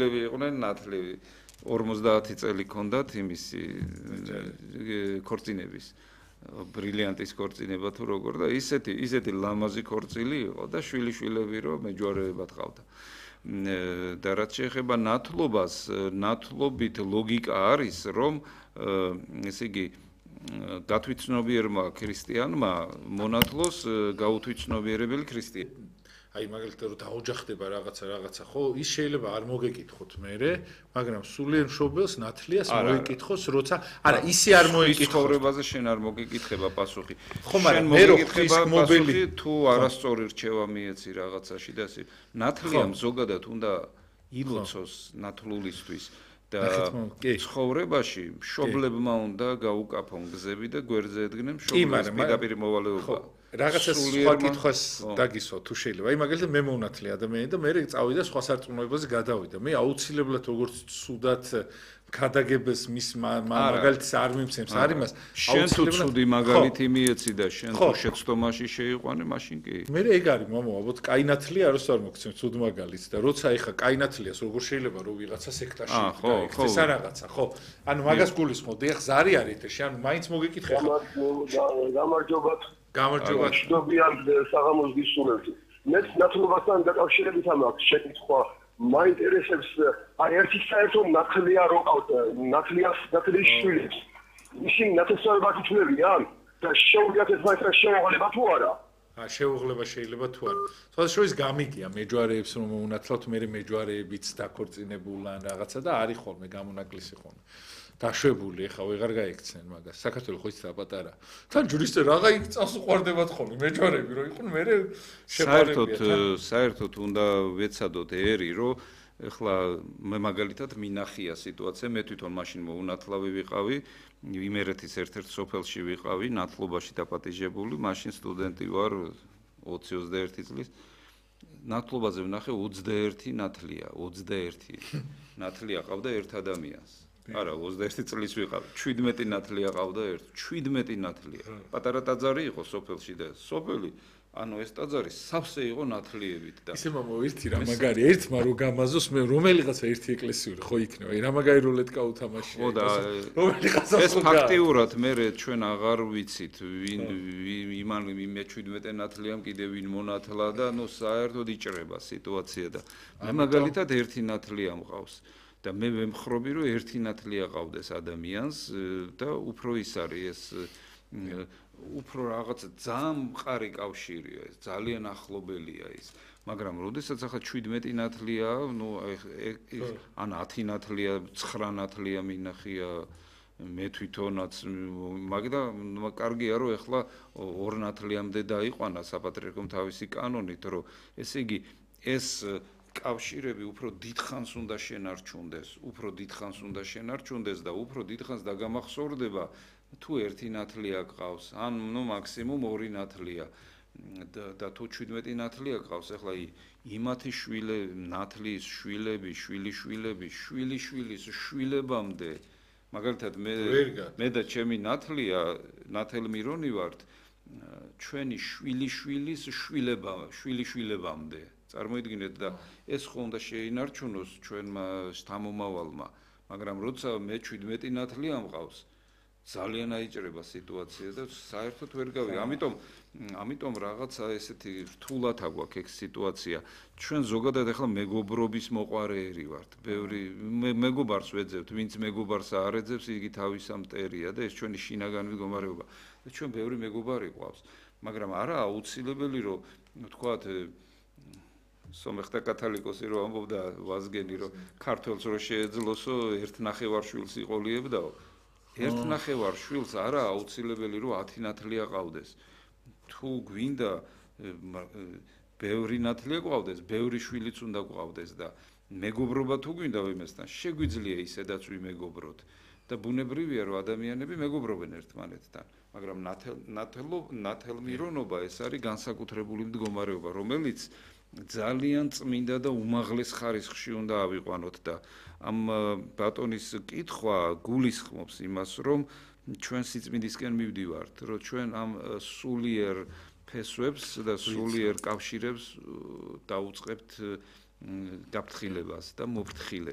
ლევი იყვნენ ნათლივი 50 წელი ქონდათ იმისი ქორწინების ბრილიანტის ქორწინება თუ როგორ და ისეთი ლამაზი ქორწილი იყო და შვილიშვილები რომ მეჯვარეებად ყავდა და რაც შეეხება ნათლობას ნათლობით ლოგიკა არის რომ ესე იგი გათვითცნობიერმა ქრისტიანმა მონათლოს გაუთვითცნობიერებელი ქრისტიანი აი მაგალითად რომ დაოჯახდება რაღაცა ხო ის შეიძლება არ მოგეკითხოთ მერე მაგრამ სულიერ მშობელს ნათლიას მოეკითხოს როცა არა ისე არ მოეკითხოს ცხოვრებაზე შენ არ მოგეკითხება პასუხი ხო მაგრამ მე რო მობილი თუ არასწორი რჩევა მიეცი რაღაცაში და ასე ნათლიამ ზოგადად უნდა ილოცოს ნათლულისთვის და ცხოვრებაში მშობლებმა უნდა გაუკაფონ გზები და გვერდზე ედგნენ მშობლების პირდაპირ მოვალეობა რაღაცა სხვა კითხვას დაგისვა თუ შეიძლება. აი მაგალითად მე მონათლე ადამიანი და მე წავიდა სხვა სარწმუნოებაზე გადავიდა. მე აუცილებლად როგორც ცუდად ქადაგებას მის მაგალითს არ მიმცემს არ იმას შენ თუ ცუდი მაგალითი მიეცი და შენ თუ შეცდომაში შეიყვანე მაშინ კი მე ეგ არის მამო ალბათ კაინათლია აროს არ მოგცემ ცუდ მაგალითს და როცა ეხა კაინათლიას როგორ შეიძლება რომ ვიღაცა სექტაში გაიქცეს არ რაღაცა ხო ანუ მაგას გულისხმობდი ეხ ზარი არის ეთერში ანუ მაინც მოგეკითხე ხა გამარჯობა შედობიან საღამოს გისურვებთ მე ნათლობასთან დაკავშირებით ამაქვს შეკითხვა მაინტერესებს აი ერთი საერთო ნათლია რო ყავთ ნათლის შვილებს ისინი ნათესავებად ითვლებიან და შეუძლიათ ეს მაინც შეუღლება თუ არა შეუღლება შეიძლება თუ არა თქო შორის გამიგია მეჯვარეებს რომ უნათლავთ მე მეჯვარეებიც დაქორწინებულან რაღაცა და არის ხოლმე გამონაკლისი ხოლმე დაშვებული ეხა ვეღარ გაიქცნენ მაგას საქართველოს ხო იცით პატარა თან ჯურისტი რაღა იქ წავს უყარდებათ ხოლმე მეჯვარეები რომ იყვნენ მე საერთოდ უნდა ვეცადოთ ერი რომ ეხლა მე მაგალითად მინახია სიტუაცია მე თვითონ მაშინ მოუნათლავი ვიყავი იმერეთის ერთ-ერთ სოფელში ვიყავი ნათლობაში დაპატიჟებული მაშინ სტუდენტი ვარ 20-21 წლის ნათლობაზე ვნახე 21 ნათლია 21 ნათლია ყავდა ერთ ადამიანს არა 21 წლის ვიყავი 17 ნათლია ყავდა ერთ 17 ნათლია პატარა ტაძარი იყო სოფელში და სოფელი ანუ ეს ტაძარი სავსე იყო ნათლიებით და ისე მამო ერთი რა მაგარი ერთმა რო გამაზოს მე რომელიღაცა ერთი ეკლესიური ხო იქნება აი რა მაგარი როლეტკა უთამაშია ხო და ეს ფაქტიურად მე ჩვენ აღარ ვიცით ვინ იმან მე 17 ნათლიამ კიდე ვინ მონათლა და ნუ საერთოდ იჭრება სიტუაცია და მე მაგალითად ერთი ნათლია მყავს და მე ვემხრობი რომ ერთი ნათლია ყავდეს ადამიანს და უფრო ის არის ეს უფრო რაღაც ძალიან მყარი კავშირია ეს ძალიან ახლობელია ის მაგრამ როდესაც ახლა 17 ნათლია ნუ ან 10 ნათლია 9 ნათლია მინახია მე თვითონაც მაგრამ კარგია რომ ეხლა 2 ნათლიამდე დაიყვანა საპატრიარქომ თავისი კანონით რომ ესე იგი ეს კავშირები უფრო დიდხანს უნდა შენარჩუნდეს და უფრო დიდხანს დაგამახსოვრდება თუ ერთი ნათლია ყავს ან ნუ მაქსიმუმ 2 ნათლია და თუ 17 ნათლია ყავს ეხლა იმათი ნათლის შვილები შვილიშვილის შვილებამდე მაგალითად მე და ჩემი ნათელმირონი ვართ ჩვენი შვილიშვილის შვილიშვილებამდე წარმოიდგინეთ და ეს ხო უნდა შეინარჩუნოს ჩვენმა შთამომავალმა მაგრამ როცა მე 17 ნათლია მყავს ძალიან აიჭრება სიტუაცია და საერთოდ ვერ გავიგე ამიტომ რაღაცა ესეთი რთულად აგვაქვს ეს სიტუაცია ჩვენ ზოგადად ახლა მეგობრობის მოყარეერი ვართ ბევრი მეგობარს ვეძებთ ვინც მეგობარს არ ეძებს იგი თავისა მტერია და ეს ჩვენი შინაგანი მდგომარეობა და ჩვენ ბევრი მეგობარი ყავს მაგრამ არა აუცილებელი რომ თქვათ სომეხთა კათოლიკოსი რომ ამბობდა ვაზგენი რომ ქართველს რო შეეძლოსო ერთ ნახევარშვილს იყოლიებდაო ერთ ნახევარშვილს არა აუცილებელი რომ 10 ნათლია ყავდეს თუ გვინდა ბევრი ნათლია ყავდეს ბევრი შვილიც უნდა ყავდეს და მეგობრობა თუ გვინდა ვიმესთან შეგვიძლია ისედაც ვიმეგობროთ და ბუნებრივია რომ ადამიანები მეგობრობენ ერთმანეთთან მაგრამ ნათელმირონობა ეს არის განსაკუთრებული მდგომარეობა რომელიც ძალიან წმინდა და უმაღლეს ხარისხში უნდა ავიყვანოთ და ამ ბატონის კითხვა გულისხმობს იმას რომ ჩვენ სიწმინდისკენ მივდივართ რომ ჩვენ ამ სულიერ ფესვებს და სულიერ კავშირებს დაუწყებთ გაფრთხილებას და მოფრთხილებას